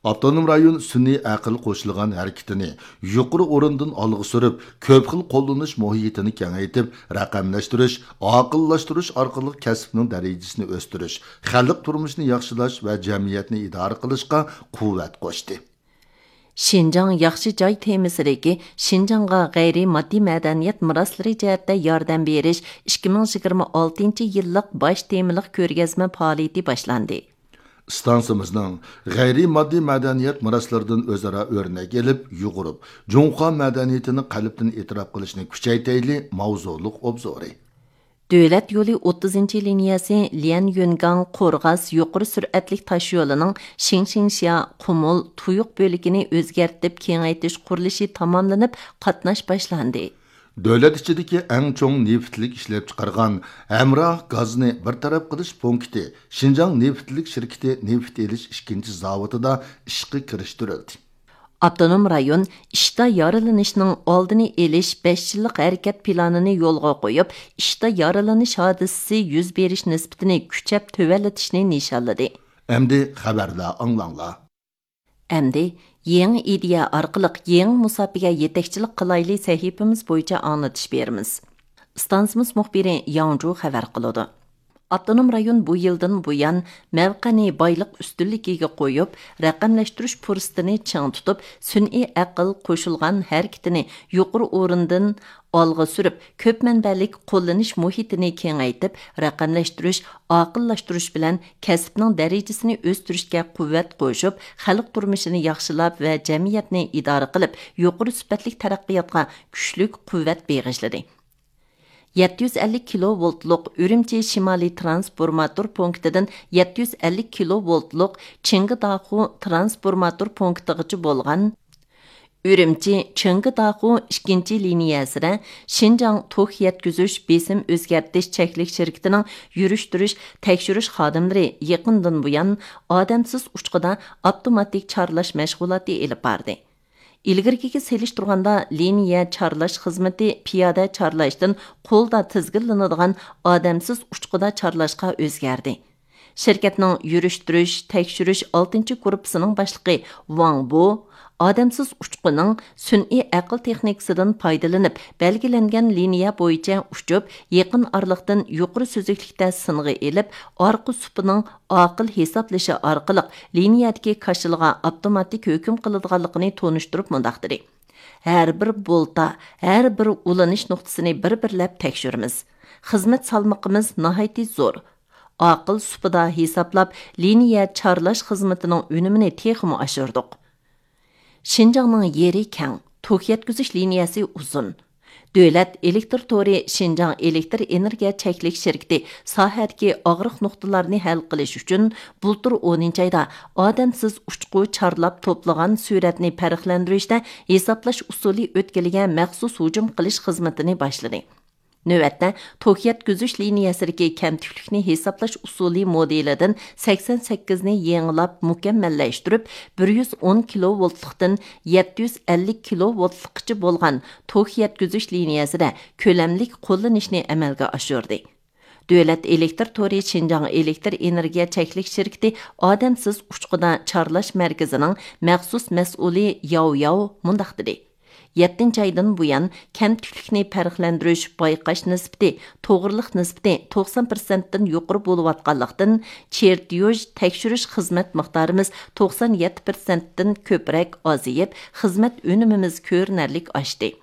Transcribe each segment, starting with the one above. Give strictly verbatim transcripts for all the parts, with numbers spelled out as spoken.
ئاپتونوم رايون سۈنئىي ئەقىل قوشۇلغان ھەرىكىتىنى يۇقىرى ئورۇندىن ئالغا سۈرۈپ، كۆپ خىل قوللىنىش مۇھىتىنى كېڭەيتىپ، رەقەملەشتۈرۈش، ئاقىللاشتۇرۇش ئارقىلىق كەسىپنىڭ دەرىجىسىنى ئۆستۈرۈش، خەلق تۇرمۇشىنى ياخشىلاش ۋە جەمئىيەتنى ئىدارە قىلىشقا قۇۋۋەت قوشتى. شىنجاڭ ياخشى جاي تېمىسىدىكى شىنجاڭغا غەيرىي ماددىي مەدەنىيەت مىراسلىرى جەھەتتە ياردەم بېرىش ئىككى مىڭ يىگىرمە ئالتىنچى يىللىق باش تېمىلىق كۆرگەزمە پائالىيىتى باشلاندى. ئىستانسىمىزنىڭ غەيرىي ماددىي مەدەنىيەت مىراسلىرىدىن ئۆزئارا ئۆرنەك ئېلىپ، يۇغۇرۇپ، جۇڭخۇا مەدەنىيىتىنى قەلبتىن ئېتىراپ قىلىشنى كۈچەيتەيلى ماۋزۇلۇق ئوبزورى. دۆلەت يولى ئوتتۇزىنچى لىنىيەسى ليەنيۈنگاڭ قورغاس يۇقىرى سۈرئەتلىك تاشيولىنىڭ شىڭشىڭشيا، قۇمۇل، تۇيۇق بۆلىكىنى ئۆزگەرتىپ كېڭەيتىش قۇرۇلۇشى تاماملىنىپ، قاتناش باشلاندى. دۆلەت ئىچىدىكى ئەڭ چوڭ نېفىتلىك ئىشلەپچىقارغان ھەمراھ گازنى بىر تەرەپ قىلىش پونكىتى شىنجاڭ نېفىتلىك شىركىتى نېفىت ئېلىش ئىككىنچى زاۋۇتىدا ئىشقا كىرىشتۈرۈلدى. ئاپتونوم رايون ئىشتا يارىلىنىشنىڭ ئالدىنى ئېلىش بەش يىللىق ھەرىكەت پىلانىنى يولغا قويۇپ، ئىشتا يارىلىنىش ھادىسىسى يۈز بېرىش نىسبىتىنى كۈچەپ تۆۋەنلىتىشنى نىشانلىدى. ئەمدى خەۋەرلەر ئاڭلاڭلار. ئەمدى يېڭى ئىدىيە ئارقىلىق يېڭى مۇساپىگە يېتەكچىلىك قىلايلى سەھىپىمىز بويىچە ئاڭلىتىش بېرىمىز. ئىستانسىمىز مۇخبىرى ياڭجۇ خەۋەر قىلىدۇ. ئاپتونوم رايون بۇ يىلدىن بۇيان مەۋقەنى بايلىق ئۈستۈنلۈكىگە قويۇپ، رەقەملەشتۈرۈش پۇرسىتىنى چىڭ تۇتۇپ، سۈنئىي ئەقىل قوشۇلغان ھەرىكىتىنى يۇقىرى ئورۇندىن ئالغا سۈرۈپ، كۆپ مەنبەلىك قوللىنىش مۇھىتىنى كېڭەيتىپ، رەقەملەشتۈرۈش، ئاقىللاشتۇرۇش بىلەن كەسىپنىڭ دەرىجىسىنى ئۆستۈرۈشكە قۇۋۋەت قوشۇپ، خەلق تۇرمۇشىنى ياخشىلاپ ۋە جەمئىيەتنى ئىدارە قىلىپ، يۇقىرى سۈپەتلىك تەرەققىياتقا كۈچلۈك قۇۋۋەت بېغىشلىدى. يەتتە يۈز ئەللىك كىلو ۋولتلۇق ئۈرۈمچى شىمالىي ترانسفورماتور پونكىتىدىن يەتتە يۈز ئەللىك كىلو ۋولتلۇق چىڭگىداخۇ ترانسفورماتور پونكىتىغىچە بولغان ئۈرۈمچى چىڭگىداخۇ ئىككىنچى لىنىيەسىدە شىنجاڭ توك يەتكۈزۈش بېسىم ئۆزگەرتىش چەكلىك شىركىتىنىڭ يۈرۈشتۈرۈش، تەكشۈرۈش خادىملىرى يېقىندىن بۇيان ئادەمسىز ئۇچقۇدا ئاپتوماتىك چارلاش مەشغۇلاتى ئېلىپ باردى. ئىلگىرىكىگە سېلىشتۇرغاندا، لىنىيە چارلاش خىزمىتى پىيادە چارلاشتىن قولدا تىزگىنلىنىدىغان ئادەمسىز ئۇچقۇدا چارلاشقا ئۆزگەردى. شىركەتنىڭ يۈرۈشتۈرۈش، تەكشۈرۈش ئالتىنچى گۇرۇپپىسىنىڭ باشلىقى ۋاڭ بو، ئادەمسىز ئۇچقۇنىڭ سۈنئىي ئەقىل تېخنىكىسىدىن پايدىلىنىپ، بەلگىلەنگەن لىنىيە بويىچە ئۇچۇپ، يېقىن ئارىلىقتىن يۇقىرى سۈزۈكلۈكتە سىنغا ئېلىپ، ئارقا سۇپىنىڭ ئاقىل ھېسابلىشى ئارقىلىق لىنىيەدىكى كاشىلىغا ئاپتوماتىك ھۆكۈم قىلىدىغانلىقىنى تونۇشتۇرۇپ مۇنداق دېدى: ھەر بىر بولتا، ھەر بىر ئۇلىنىش نۇقتىسىنى بىر-بىرلەپ تەكشۈرىمىز. خىزمەت سالمىقىمىز ناھايىتى زور. ئاقىل سۇپىدا ھېسابلاپ، لىنىيە چارلاش خىزمىتىنىڭ ئۈنۈمىنى تېخىمۇ ئاشۇردۇق. شىنجاڭنىڭ يېرى كەڭ، توك يەتكۈزۈش لىنىيەسى ئۇزۇن. دۆلەت ئېلېكتىر تورى شىنجاڭ ئېلېكتىر ئېنېرگىيە چەكلىك شىركىتى ساھەدىكى ئاغرىق نۇقتىلارنى ھەل قىلىش ئۈچۈن، بۇلتۇر ئونىنچى ئايدا ئادەمسىز ئۇچقۇ چارلاپ توپلىغان سۈرەتنى پەرقلەندۈرۈشتە ھېسابلاش ئۇسۇلى ئۆتكىلىگە مەخسۇس ھۇجۇم قىلىش خىزمىتىنى باشلىدى. نۆۋەتتە، توك يەتكۈزۈش لىنىيەسىدىكى كەمتۈكلۈكنى ھېسابلاش ئۇسۇلى مودېلىدىن سەكسەن سەككىزنى يېڭىلاپ مۇكەممەللەشتۈرۈپ، بىر يۈز ئون كىلو ۋولتلۇقتىن يەتتە يۈز ئەللىك كىلو ۋولتلۇققىچە بولغان توك يەتكۈزۈش لىنىيەسىدە كۆلەملىك قوللىنىشنى ئەمەلگە ئاشۇردى. دۆلەت ئېلېكتىر تورى شىنجاڭ ئېلېكتىر ئېنېرگىيە چەكلىك شىركىتى ئادەمسىز ئۇچقۇدا چارلاش مەركىزىنىڭ مەخسۇس مەسئۇلى ياۋ ياۋ مۇنداق دېدى: يەتتىنچى ئايدىن بۇيان، كەمتۈكلۈكنى پەرقلەندۈرۈش بايقاش نىسبىتى، توغرىلىق نىسبىتى توقسان پىرسەنتتىن يۇقىرى بولۇۋاتقانلىقتىن، چېرتيوژ تەكشۈرۈش خىزمەت مىقدارىمىز توقسان يەتتە پىرسەنتتىن كۆپرەك ئازىيىپ، خىزمەت ئۈنۈمىمىز كۆرۈنەرلىك ئاشتى.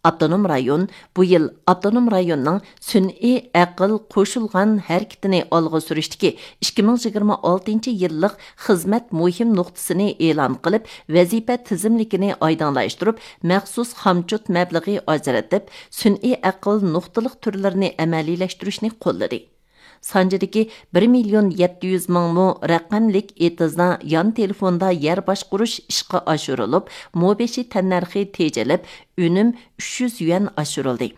ئاپتونوم رايون بۇ يىل ئاپتونوم رايوننىڭ سۈنئىي ئەقىل قوشۇلغان ھەرىكىتىنى ئالغا سۈرۈشتىكى ئىككى مىڭ يىگىرمە ئالتىنچى يىللىق خىزمەت مۇھىم نۇقتىسىنى ئېلان قىلىپ، ۋەزىپە تىزىملىكىنى ئايدىڭلاشتۇرۇپ، مەخسۇس خامچوت مەبلىغى ئاجرىتىپ، سۈنئىي ئەقىل نۇقتىلىق تۈرلىرىنى ئەمەلىيلەشتۈرۈشنى قوللىدى. سانجىدىكى بىر مىليون يەتتە يۈز مىڭ مو رەقەملىك ئېتىزدا يان تېلېفوندا يەر باشقۇرۇش ئىشقا ئاشۇرۇلۇپ، مو بېشى تەننەرخى تېجىلىپ، ئۈنۈم ئۈچ يۈز يۈەن ئاشۇرۇلدى.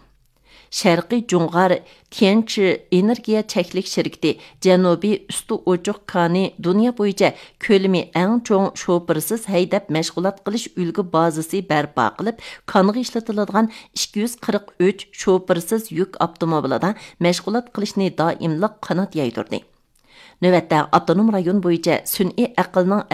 شەرقىي جۇڭغار تيەنچى ئېنېرگىيە چەكلىك شىركىتى جەنۇبىي ئۈستى ئوچۇق كانى دۇنيا بويىچە كۆلىمى ئەڭ چوڭ شوپۇرسىز ھەيدەپ مەشغۇلات قىلىش ئۈلگە بازىسى بەرپا قىلىپ، كانغا ئىشلىتىلىدىغان ئىككى يۈز قىرىق ئۈچ شوپۇرسىز يۈك ئاپتوموبىلىدا مەشغۇلات قىلىشنى دائىملىق قانات يايدۇردى. نۆۋەتتە ئاپتونوم رايون بويىچە سۈنئىي ئەقىلنىڭ